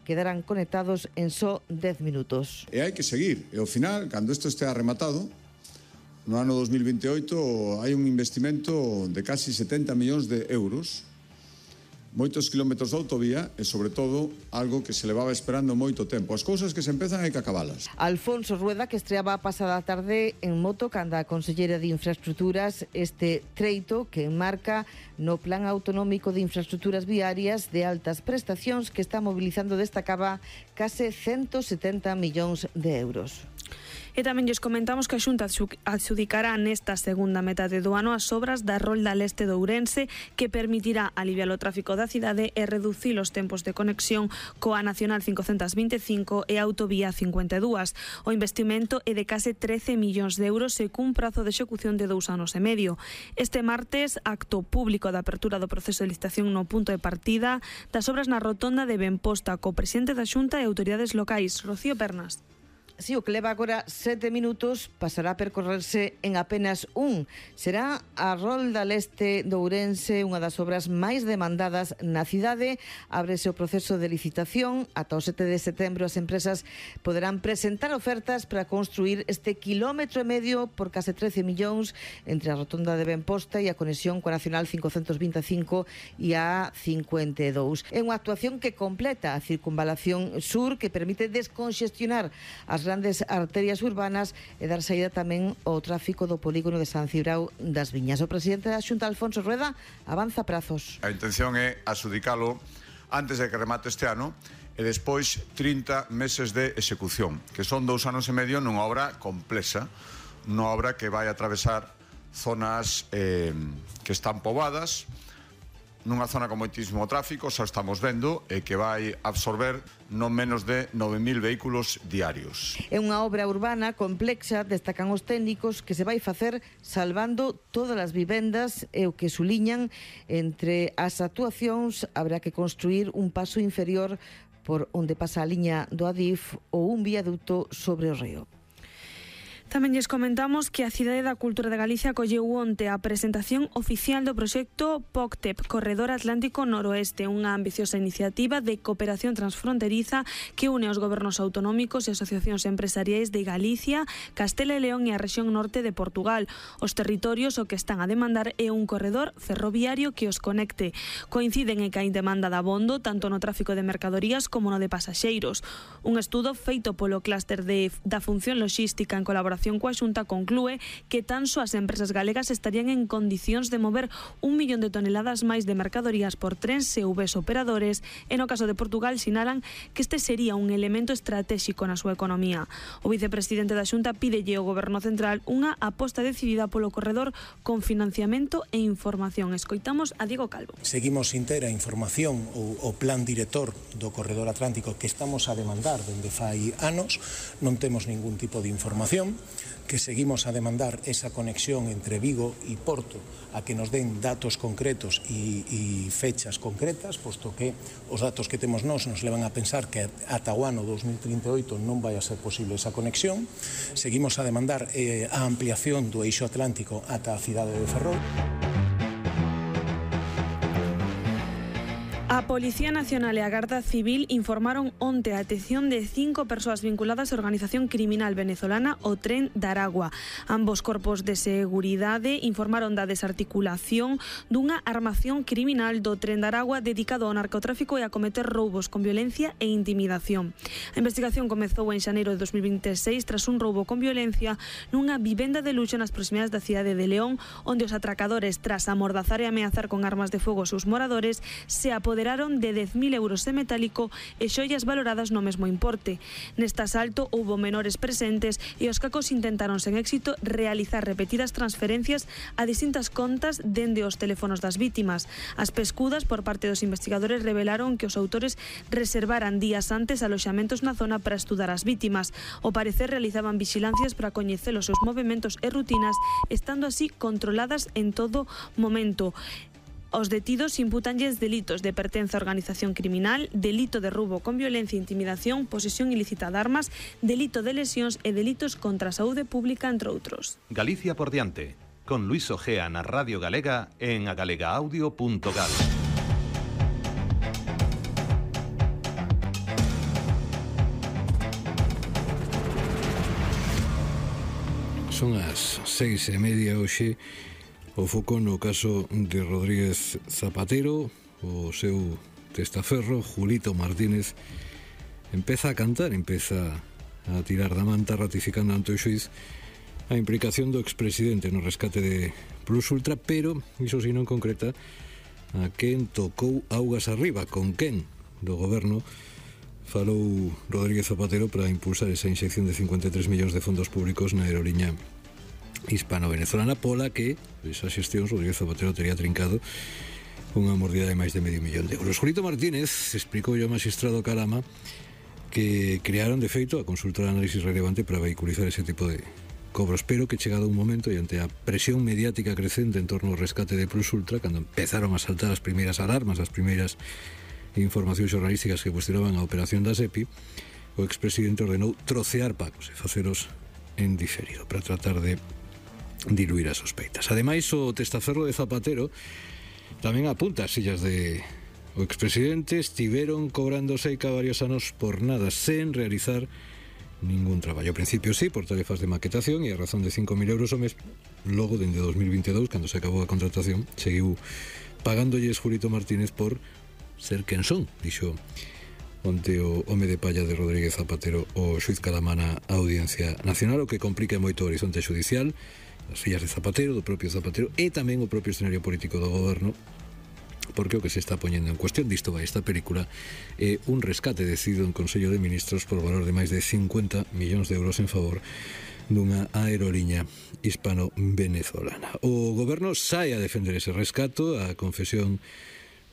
quedarán conectados en só 10 minutos. E hai que seguir. E ao final, cando isto estea rematado, no ano 2028 hai un investimento de casi 70 millóns de euros, moitos kilómetros de autovía e, sobre todo, algo que se levaba esperando moito tempo. As cousas que se empezan hai que acabalas. Alfonso Rueda, que estreaba a pasada tarde en moto canda a Conselleira de Infraestructuras este treito que enmarca no Plan Autonómico de Infraestructuras Viarias de altas prestacións que está mobilizando desta cava case 170 millóns de euros. E tamén lles comentamos que a Xunta adxudicará nesta segunda metade do ano as obras da Rolda Leste de Ourense, que permitirá aliviar o tráfico da cidade e reducir os tempos de conexión coa Nacional 525 e a Autovía 52. O investimento é de case 13 millóns de euros e cun prazo de execución de 2 anos e medio. Este martes, acto público de apertura do proceso de licitación no punto de partida das obras na rotonda de Benposta co presidente da Xunta e autoridades locais. Rocío Pernas. Si, o que leva agora 7 minutos pasará a percorrerse en apenas un. Será a Rolda Leste de Ourense, unha das obras máis demandadas na cidade. Ábrese o proceso de licitación. Ata o 7 de setembro as empresas poderán presentar ofertas para construir este quilómetro e medio por case 13 millóns entre a rotonda de Benposta e a conexión coa Nacional 525 e a 52. É unha actuación que completa a circunvalación sur, que permite desconxestionar as grandes arterias urbanas e dar saída tamén ao tráfico do polígono de San Cibrao das Viñas. O presidente da Xunta, Alfonso Rueda, avanza prazos. A intención é adxudicalo antes de que remate este ano e despois 30 meses de execución, que son 2 anos e medio nunha obra complexa, nunha obra que vai atravesar zonas que están poboadas, nunha zona con moitísimo tráfico, xa estamos vendo, e que vai absorber non menos de 9.000 vehículos diarios. É unha obra urbana complexa, destacan os técnicos, que se vai facer salvando todas as vivendas, e o que suliñan entre as actuacións haberá que construir un paso inferior por onde pasa a liña do Adif ou un viaduto sobre o río. Tamén lles comentamos que a Cidade da Cultura de Galicia acolleu onte a presentación oficial do proxecto POCTEP, Corredor Atlántico Noroeste, unha ambiciosa iniciativa de cooperación transfronteriza que une os gobernos autonómicos e asociacións empresariais de Galicia, Castela e León e a rexión norte de Portugal. Os territorios o que están a demandar é un corredor ferroviario que os conecte. Coinciden en que hai demanda de abondo tanto no tráfico de mercadorías como no de pasaxeiros. Un estudo feito polo clúster da función logística en colaboración coa Xunta conclúe que tan só as empresas galegas estarían en condicións de mover 1 millón de toneladas máis de mercadorías por tren se houbese operadores, e no caso de Portugal sinalan que este sería un elemento estratéxico na súa economía. O vicepresidente da Xunta pídelle ao Goberno Central unha aposta decidida polo corredor con financiamento e información. Escoitamos a Diego Calvo. Seguimos sin ter a información ou o plan director do corredor atlántico que estamos a demandar dende fai anos, non temos ningún tipo de información, que seguimos a demandar esa conexión entre Vigo e Porto, a que nos den datos concretos e fechas concretas, posto que os datos que temos nos levan a pensar que ata o ano 2038 non vai a ser posible esa conexión. Seguimos a demandar a ampliación do eixo atlántico ata a cidade de Ferrol. A Policía Nacional e a Garda Civil informaron onte a detención de 5 persoas vinculadas á organización criminal venezolana o Tren de Aragua. Ambos corpos de seguridade informaron da desarticulación dunha armación criminal do Tren de Aragua dedicado ao narcotráfico e a cometer roubos con violencia e intimidación. A investigación comezou en xaneiro de 2026 tras un roubo con violencia nunha vivenda de luxo nas proximidades da cidade de León, onde os atracadores, tras amordazar e ameazar con armas de fogo aos seus moradores, se apoderaron de 10.000 euros de metálico e xoias valoradas no mesmo importe. Neste asalto houbo menores presentes e os cacos intentaron sen éxito realizar repetidas transferencias a distintas contas dende os teléfonos das vítimas. As pescudas por parte dos investigadores revelaron que os autores reservaran días antes aloxamentos na zona para estudar as vítimas. Ao parecer realizaban vixilancias para coñecer os seus movementos e rutinas, estando así controladas en todo momento. Os detidos imputanlles delitos de pertenza a organización criminal, delito de roubo con violencia e intimidación, posesión ilícita de armas, delito de lesións e delitos contra a saúde pública, entre outros. Galicia por diante, con Luis Ojea na Radio Galega en agalegaaudio.gal. Son as 6:30 hoxe. O foco no caso de Rodríguez Zapatero, o seu testaferro, Julito Martínez, empeza a cantar, empeza a tirar da manta, ratificando ante o xuiz a implicación do expresidente no rescate de Plus Ultra, pero iso si non concreta a quen tocou augas arriba, con quen do goberno falou Rodríguez Zapatero para impulsar esa inxección de 53 millóns de fondos públicos na aeroliña hispano-venezolana, pola que esa xestión Rodríguez Zapatero tería trincado unha mordida de máis de medio millón de euros. Julito Martínez explicou ao magistrado Calama que crearon de feito a consulta de análisis relevante para vehiculizar ese tipo de cobros, pero que chegado un momento e ante a presión mediática crecente en torno ao rescate de Plus Ultra, cando empezaron a saltar as primeiras alarmas, as primeiras informacións xornalísticas que cuestionaban a operación da SEPI, o expresidente ordenou trocear pagos e faceros en diferido para tratar de diluir as sospeitas. Ademais, o testaferro de Zapatero tamén apunta as sillas de o expresidente estiveron cobrando seica varios anos por nada, sen realizar ningún traballo. Ao principio sí, por tarefas de maquetación e a razón de 5.000 euros ao mes. Logo, dende 2022, cando se acabou a contratación, seguiu pagándolles Julito Martínez por ser quen son, dixo onte o home de palla de Rodríguez Zapatero o xuiz Calama na Audiencia Nacional, o que complica moito o horizonte xudicial, as fillas de Zapatero, do propio Zapatero, e tamén o propio escenario político do goberno, porque o que se está poñendo en cuestión disto vai esta película é un rescate decidido en Consello de Ministros por valor de máis de 50 millóns de euros en favor dunha aeroliña hispano-venezolana. O goberno sae a defender ese rescato. A confesión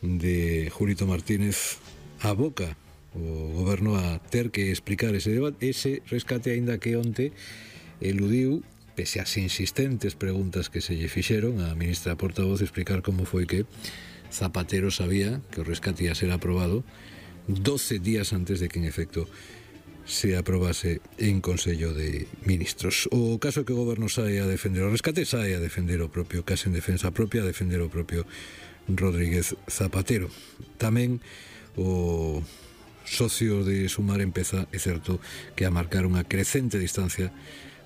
de Julito Martínez aboca o goberno a ter que explicar ese rescate, aínda que onte eludiu, pese ás insistentes preguntas que se lle fixeron a ministra portavoz, explicar como foi que Zapatero sabía que o rescate ia ser aprobado 12 días antes de que en efecto se aprobase en Consello de Ministros. O caso é que o goberno sae a defender o rescate, sae a defender o propio caso en defensa propia, a defender o propio Rodríguez Zapatero. Tamén o socio de Sumar empeza, é certo, que a marcar unha crecente distancia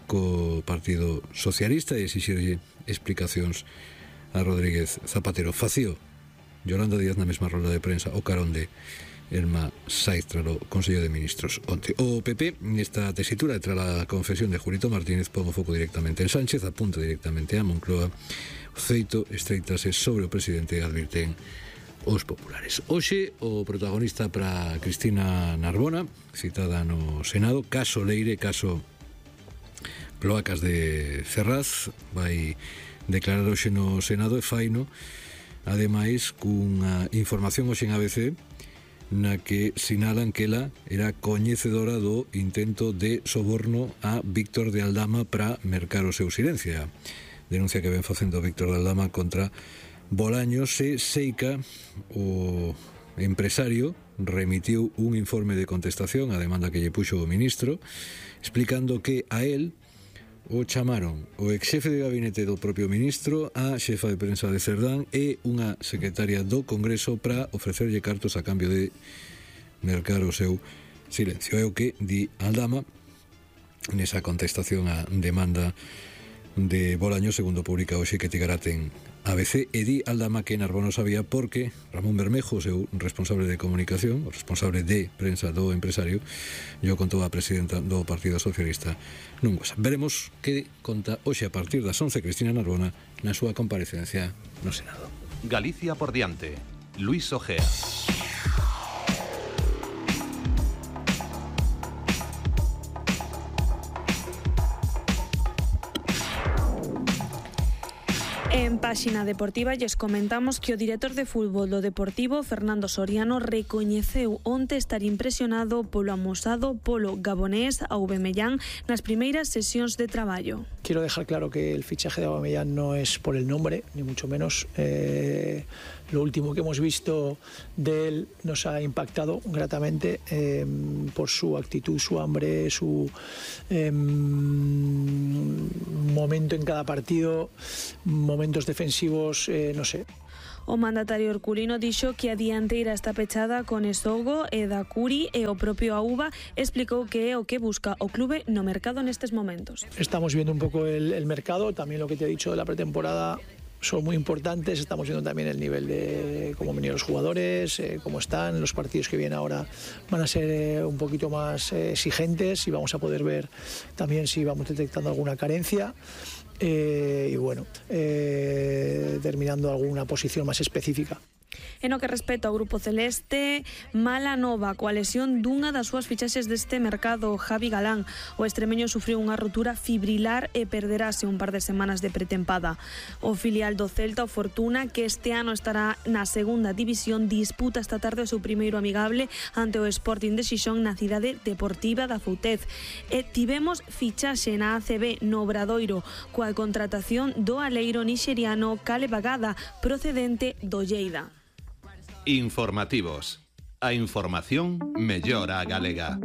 co Partido Socialista e exixirlle explicacións a Rodríguez Zapatero. Facío Yolanda Díaz na mesma rolda de prensa o carón de Elma Saiz tras o Consello de Ministros onte. O PP, nesta tesitura tras a confesión de Julito Martínez, pon o foco directamente en Sánchez, apunta directamente a Moncloa. O feito estreitase sobre o presidente, advirten os populares. Hoxe o protagonista para Cristina Narbona, citada no Senado, caso Leire, caso Cloacas de Ferraz, vai declarar hoxe no Senado e faino, ademais, cunha información hoxe en ABC na que sinalan que ela era coñecedora do intento de soborno a Víctor de Aldama para mercar o seu silencio. Denuncia que ven facendo Víctor de Aldama contra Bolaños e Seica, o empresario, remitiu un informe de contestación á demanda que lle puxo o ministro, explicando que a él o chamaron o exxefe de gabinete do propio ministro, a xefa de prensa de Cerdán e unha secretaria do Congreso para ofrecerlle cartos a cambio de mercar o seu silencio. É o que di Aldama nesa contestación á demanda de Bolaños, segundo publica hoxe que Tigarate en ABC, e di Aldama que Narbona sabía porque Ramón Bermejo, o seu responsable de comunicación, o responsable de prensa do empresario, yo contou a presidenta do Partido Socialista nun WhatsApp. Veremos que conta hoxe a partir das 11 Cristina Narbona na súa comparecencia no Senado. Galicia por diante. Luis Ojea. En páxina deportiva lles comentamos que o director de fútbol do Deportivo, Fernando Soriano, recoñeceu onte estar impresionado polo amosado polo gabonés Aubameyang nas primeiras sesións de traballo. Quiero dejar claro que el fichaje de Aubameyang no es por el nombre, ni mucho menos. Lo último que hemos visto de él nos ha impactado gratamente por su actitud, su hambre, su momento en cada partido, momentos defensivos, no sé. O mandatario herculino dixo que a dianteira está pechada con Esogo e da Curi e o propio Auba explicou que é o que busca o clube no mercado nestes momentos. Estamos viendo un poco el mercado, también lo que te he dicho de la pretemporada son muy importantes, estamos viendo también el nivel de cómo vienen los jugadores, cómo están, los partidos que vienen ahora van a ser un poquito más exigentes y vamos a poder ver también si vamos detectando alguna carencia. Y bueno, terminando alguna posición más específica. En o que respecta ao Grupo Celeste, mala nova coa lesión dunha das súas fichaxes deste mercado, Javi Galán. O extremeño sufriu unha rotura fibrilar e perderase un par de semanas de pretempada. O filial do Celta, o Fortuna, que este ano estará na segunda división, disputa esta tarde o seu primeiro amigable ante o Sporting de Xixón na cidade deportiva da Foutez. E tivemos fichaxe na ACB no Obradoiro coa contratación do aleiro nixeriano Caleb Agada, procedente do Lleida. Informativos. A información mellora a galega.